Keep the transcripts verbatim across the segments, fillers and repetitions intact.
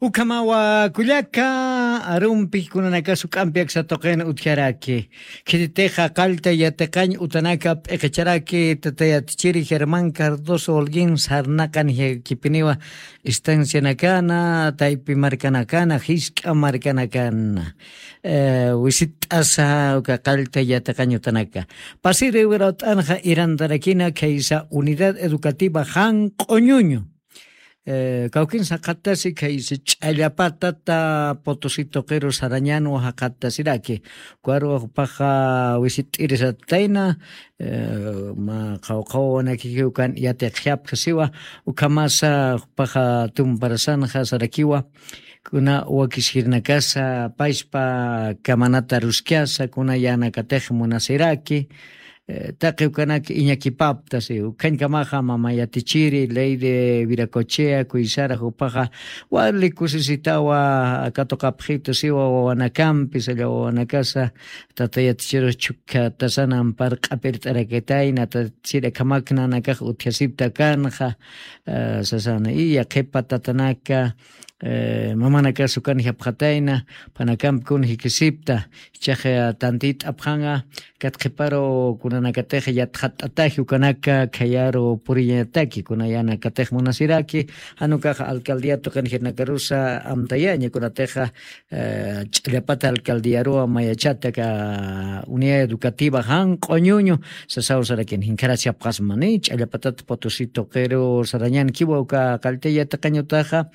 Ukhamawa kullaka, arumpi kunanakasu k'ampi aksa tuqin utjaraki. Khititixa qallta yatiqañ utanaka p'iqicharaki tatayatichiri Germán Cardoso Holguín sarnaqan jikipiniwa estancianakana, taypi markanakana, jisk'a markanakana. Eh, wisit'asa uka qallta yatiqañ utanaka. Pasiri wirawt'anxa irantarakina khaysa unidad educativa janq'uñuñu. Eh, kawkin saqatasi khaysi ch'allapatata Potosí tuqiru sarañanwa jaqatasiraki. Kuarwa jupaxa wisit'irisatayna, eh, ma qawqawanakiki ukan yatiqjapxasiwa, ukhamasa jupaxa tumparasanxa sarakiwa, kuna wakiskirnakasa pachpa kamanata ruskasa, kuna yanakatix munasiraki, eh, taqi ukanak iñakipaptasi, ukhañkamaxa mama yatichiri, ley de Viracochea, kuysara jupaxa, wali kusisitawa, katuqapxitu siwa wawanakampi, salla wawanakasa, tata yatichiru chhukkatasana ampar q'apirt'arakitayna, tata chiri akhamaknanakax utjasipta kanxa, eh, sasana, iya qhipa tatanaka, eh, mamanakasu kan japxatayna, phanakampi kun jikisipta, ichaxa tantit'apxanxa, kat qhiparu kunanakatix yatxat'ataji ukanaka khayaru puriñataki, kunayanakatix munasiraki, janukaxa alcaldía tuqin jirnakarusa amtayaña, kunatixa, eh, ch'allapata alcaldiaruwa mayachata ka unidad educativa janq'uñuñu, sasaw sarakin, jinkharachapxasmani, ch'allapatat Potosí tuqiru sarañankiwa uka qallta yatiqañ utaxa,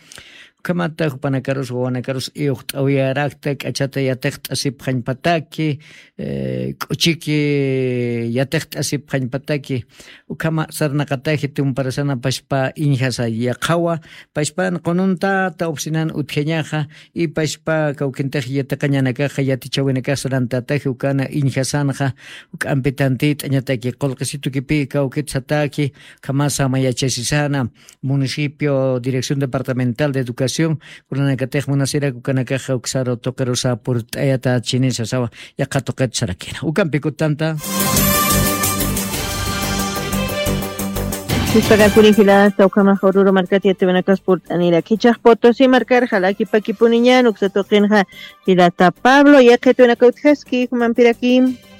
ukhamata jupanakarus, wawanakarus, iyuqt'awiyarakta, k'achata yatiqt'asipxañpataki, eh, k'uchiki yatiqt'asipxañpataki, ukhama sarnaqataji tumparasana pachpa iñjasa yaqhawa, pachpan qununtata oficinan utjañaxa, y pachpa kawkintix yatiqañanakaxa yatichawinakax sarantataji ukana iñjasanxa, uk'ampi tantit'añataki, qullqisitukipï kawkitsataki, ukhamasa mayachasisana, municipio, Dirección Departamental de Educación, kunanakatix munasirak ukanakaxa uksaru tuqirusa purt'ayata chinisa sawa, yaqha tuqit sarakina. Ukampi kutanta. Sispaga kurijilasta ukhamaxa Oruro markat yatiwinakas purt'anirak. Jichhax Potosí markar jalakipakipuniñan uksa tuqinxa jilata Pablo, yaqhitwinaka utjaski, jumampiraki.